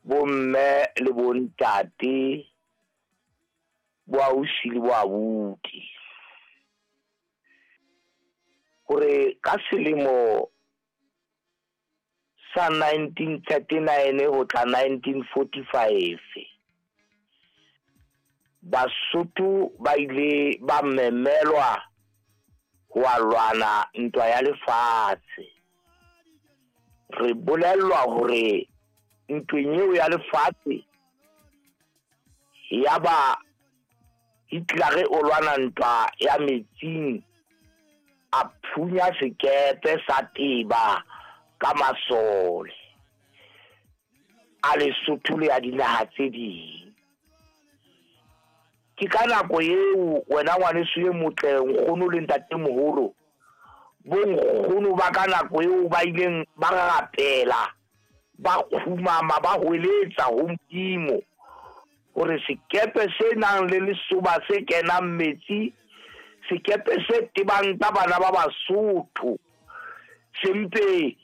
Bomme le bontate, boausi le boabuti. Hore ka selemo sa 1939 ho tla 1945 Basotho ba ile ba memelwa ho a lwana ntwa ya lefatshe. Re bolellwa hore ntweng eo ya lefatshe yaba Hitler o lwana ntwa ya metsing a phunya sekepe sa teba ka masole a Lesotho le a dinaha tse ding. Ke ka nako eo wena ngwaneso e motle nkgono le ntatemoholo bonkgono ba ka nako eo ba ileng ba rapela ba kgumama ba hweletsa ho Modimo hore sekepe se nang le lesoba se kenang metsi sekepe se tebang ka bana ba Basotho se mpe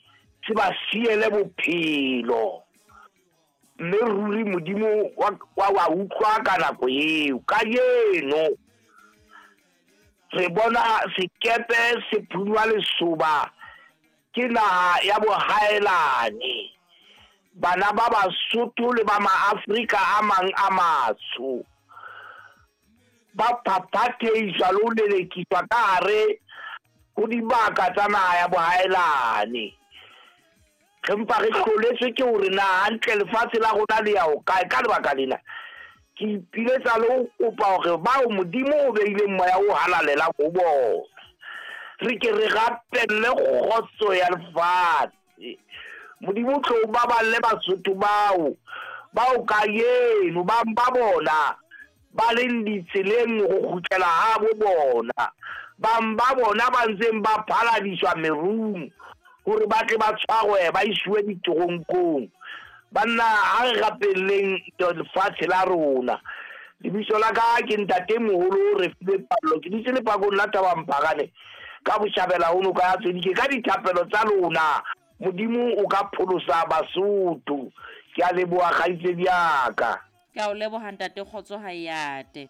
se ba siele bophelo mme ruri Modimo wa wa utlwa ka nako eo. Kajeno re bona sekepe se phunywa lesoba ke naha ya bohaelane. Bana ba Basotho le ba Maafrika a mang a matsho ba phaphatheiswa le ho lelekiswa ka hare ho dibaka tsa naha ya bohaelane. Re mpa re hloletswe ke hore na hantle lefatshe la rona le ya ho kae. Ka lebaka lena ke ipiletsa le ho kopa hore bao Modimo o beileng moya o halalelang ho bona re ke re rapelle kgotso ya lefatshe. Modimo o tlo o baballe Basotho bao bao kajeno bang ba bona ba leng ditseleng ho kgutlela habo bona, bang ba bona ba ntseng ba phaladiswa merung hore ba tle ba tshwarwe ba isiwe ditoronkong. Banna, ha re rapelleng lefatshe la rona. Lebitso la ka ke Ntatemoholo Refilwe Pallo, ke dutse lepakong la Thabamphakane ka botjhabela ho noka ya Tsodike. Ka dithapelo tsa lona Modimo o ka pholosa Basotho. Ke a leboha kgaitsedi ya ka. Ke a o leboha ntate, kgotso ha e ate.